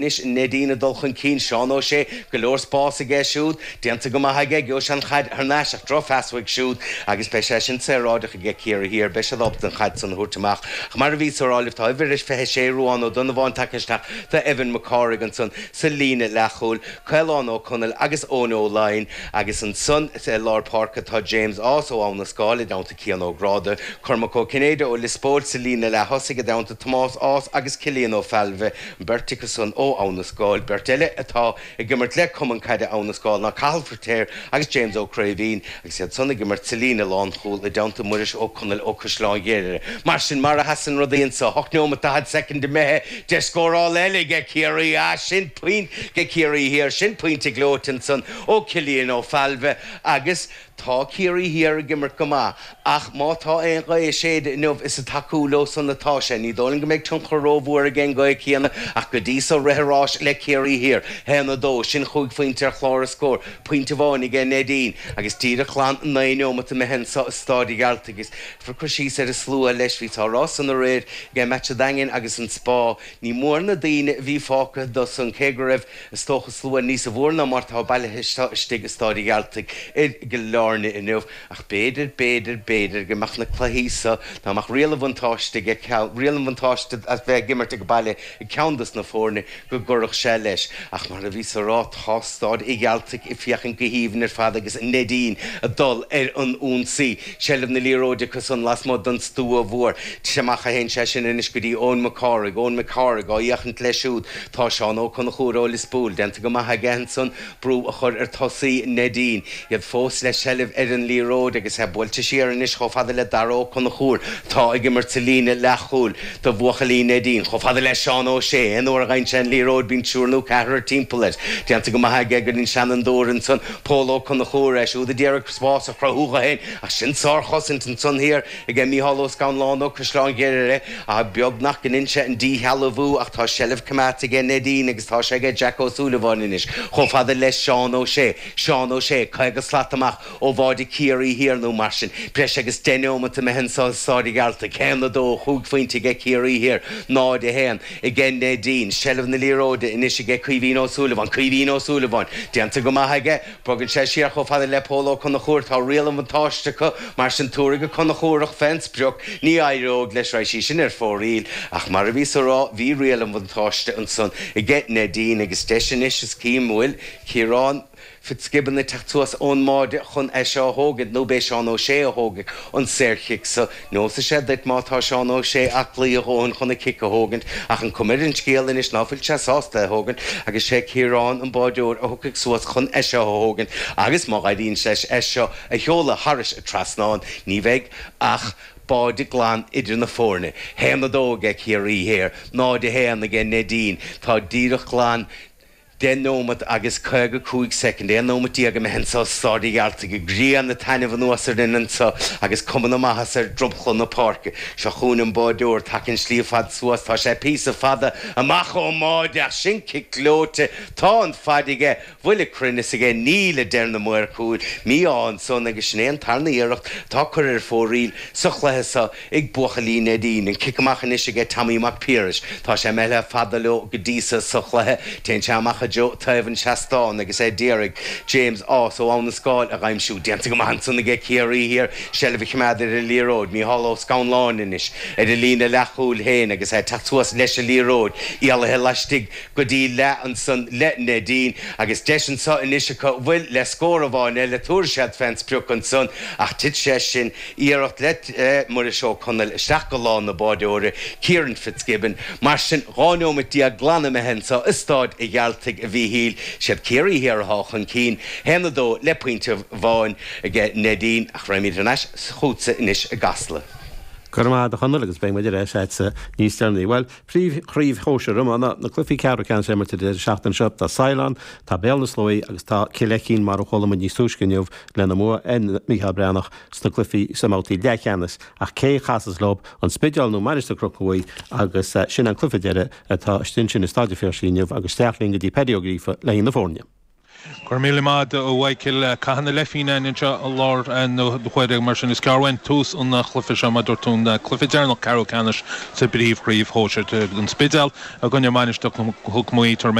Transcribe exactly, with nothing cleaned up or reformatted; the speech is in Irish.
Anois Neidín ag dul chun cinn, Seán Ó Sé, go leor spás aige siúd, déanta go maith aige, gheobhaidh sé an chaid thar n-ais ach drochphas uaidh siúd agus beidh sé sin saoráideach aige Ciarraí Thiar, beidh siad ábalta an chaid san a thabhairt amach. Ach mar a bhíos a rá libh, tá uimhir a fiche sé, Ruán Ó Donnabháin tagtha isteach do Evan Mac Cárthaigh ansan sa líne leathchúil, Caolán Ó Conaill agus Eoin Ó Laighin agus ansan i lár páirce tá James Ághas ó Abha na Scáil i dteannta Cian Ó Gráda, Cormac Ó Cinnéide ó Lios Póil sa líne leath-thosaigh i dteannta Tomás Ághas agus Cillian Ó Failbhe. An bheirt acu san ó Abha na Scáil. Beirt eile atá ag imirt le Cumann Caide Abha na Scáil ná Cathal Feirtéar agus James Ó Craoibhín agus iad san ag imirt sa líne lánchúil i dteannta Muiris Ó Conaill ó Caisleán Ghriaire. Mar sin, mar a sheasann rudaí anso, hocht neomat daichead soicind imithe, deis scórála eile aige Ciarraí. Ah, sin pointe aige Ciarraí Thiar, sin pointe gleoite ansan ó Cillian Ó Failbhe agus Tá Ciarraí Thiar ag imirt go maith ach má tá aon ghaoth ag séideadh inniu is ag tacú leo san atá sé. Ní dóigh liom go mbeidh tionchar rómhór ag an ngaoth céanna ach go dtí so rith an ráis le Ciarraí Thiar. Haon a dó, sin chúig phointe ar chlár an scóir, pointe amháin aige Neidín agus díreach glan naoi neomat imithe anso i Stáid an Ghearaltaigh agus cur síos ar an slua leis. Bhíos á rá san aréir ag match an Daingin agus an Spá. Ní mór na daoine a bhí fágtha do san cé go raibh Is dócha slua níosa mhór ná mar atá bailithe istigh i Stáid an Ghearaltaigh i gCill Airne inniu ach b'fhéidir, b'fhéidir, b'fhéidir go mbeadh na cluichí so, dá mbeadh riail an bhuntáiste ag ceann, riail an bhuntáiste as bheith ag imirt ag baile ag ceann dos na foirne, go gcuirfeadh sé leis. Ach mar a bhíos a rá, tá Stáid an Ghearaltaigh ag féachaint go haoibhinn ar fad agus Neidín ag dul ar an ionsaí. Seilbh na liathróide acu san lasmuigh den stua mhór. Amach a théann sé sin anois go dtí Eoin Mac Cárthaigh, Eoin Mac Cárthaigh á fhéachaint leis siúd. Tá Seán Ó Conchúir ó Lios Póil déanta go maith aige ansan brú a chur ar tosaí Neidín. Iad fós le seilbh ar an liathróid agus é buailte siar anois chomh fada le Dara Ó Conchúir atá ag imirt sa líne leathchúil do bhuachaillí Neidín. Chomh fada le Seán Ó Sé. Aon uair a fhaigheann sé an liathróid bíonn triúr nó ceathrar timpeall air. Déanta go maith aige go dtí an seanfhondúir ansan Pól Ó Conchúir, é siúd a d'iarraidh spás a chruthú dho fhéin ach sin sárchosaint ansan thiar aige Mícheál Ó Scanláin ó Caisleán Ghriaire. Beag nach ndein sé an díshealbhú ach tá seilbh coimeádta aige Neidín agus tá sé aige Jack Ó Súilleabháin anois chomh fada le Seán Ó Sé. Seán Ó Sé, caoga slat amach ó bháide Ciarraí Thiar nó mar sin. Breis agus deich neomat imithe anso i Stáid an Ghearaltaigh. Haon a dó, chúig phointe aige Ciarraí Thiar, náid a haon aige Neidín. Seilbh na liathróide anois aige Caoimhín Ó Súilleabháin. Caoimhín Ó Súilleabháin. Déanta go maith aige. Bogann sé siar chomh fada le Pól Ó Conchúir. Tá riail an bhuntáiste acu, mar sin tabharfaidh Ó Conchúrach fén sprioc. Ní éireoidh leis, raghaidh sí sin ar fóraoil. Ach mar a bhíos a rá, bhí riail an bhuntáiste ansan aige Neidín agus deis anois is cím bhfuil Ciarán Fitzgibbon ag teacht suas ón mbáide chun é seo a thógaint nó b'é Seán Ó Sé a thógfaidh an saorchic so. Neosfaidh sé duit má tá Seán Ó Sé aclaí a dhóthain chun an cic a thógaint ach an cuma ar an scéal anois ná fuil sé sásta é a thógaint agus sé Ciarán an báideoir a thiocfaidh suas chun é seo a thógaint agus má éiríonn leis é seo a sheoladh thairis an trasnán ní bheidh ach báide glan idir na foirne. Haon a dó aige Ciarraí Thiar, náid a haon aige Neidín. Tá díreach glan deich nóimeat agus caoga cúig soicind, aon nóimeat déag imithe anso i Stáid an Ghearaltaigh, an ghrian ag taitneamh anuas orainn anso agus cuma na maitheasa ar dromchla na páirce. Seo chugainn an báideoir, tagtha an slí fada suas, tá sé píosa fada amach ón mbáide ach sin cic gleoite, tá an faid aige, bhfuil an cruinneas aige, níl, a deir na maoir cúil. Mí-ádh ansan agus sin é an tarna iarracht atá curtha ar fóraoil sa chluiche so. ag buachaillí Neidín. An cic amach anois aige Tommy Mac Piarais. Tá sé imithe fada leo go dtí so sa chluiche. Téann sé amach i dtreo taobh an tseastáin agus é d'iarraidh James Ághas ó Abha na Scáil a dh'aimsiú. Déanta go maith ansan aige Ciarraí Thiar. Seilbh a choimeád ar an liathróid. Mícheál Ó Scanláin anois ar a líne leathchúil féin agus é ag teacht suas leis an liathróid. Éalaithe laistigh go dtí leath ansan le Neidín agus deis anso anois acu bhfuil le scór amháin eile. Tabharfaidh siad fén sprioc ansan ach tit sé sin. Iarracht le Muiris Ó Conaill isteach go lámh na báideora, Kieran Fitzgibbon. Mar sin, dhá neomat déag glan imithe anso i Stáid a' Ghearaltaigh a Mhíchíl. Siad Ciarraí Thiar atá chun cinn, haon a dó le pointe amháin aige Neidín. Ach raghaimid thar n-ais chugatsa anois i gCasla. Go raibh maith agat a Chonaill agus beidh muid ar ais agatsa níos deireanaí. Bhuel, príomhchraobh shóisir iomána, na cluichí ceathrú ceannais imeartha an deireadh seachtaine seo. Tá Saighleán, tá Béal na Sluaighe agus tá Cill Aicín mar a chuala muid níos túisce inniu lena mbua ar Mícheál Breathnach sna cluichí sa mbabhtaí leathcheannais ach cé a chasfas leo, an Spidéal nó Mainistir Chnoc na Mhuí agus sin an cluiche deiridh atá istigh ansin i Staid an Phiarsaigh inniu agus isteach linn go dtí Paddy Ó Gríofa le haghaidh na foirne. Gur mí mad ó Mhichael cathain le fíine anseo i lár na huaire mar sin is cearhain tús an chluiche seo mar dúirt tú an cluiche deireanach ceathrú ceannais sa bpríomhchraobh shóisir an Spidéal i gcoinne Mainistir Chnoc Muaidh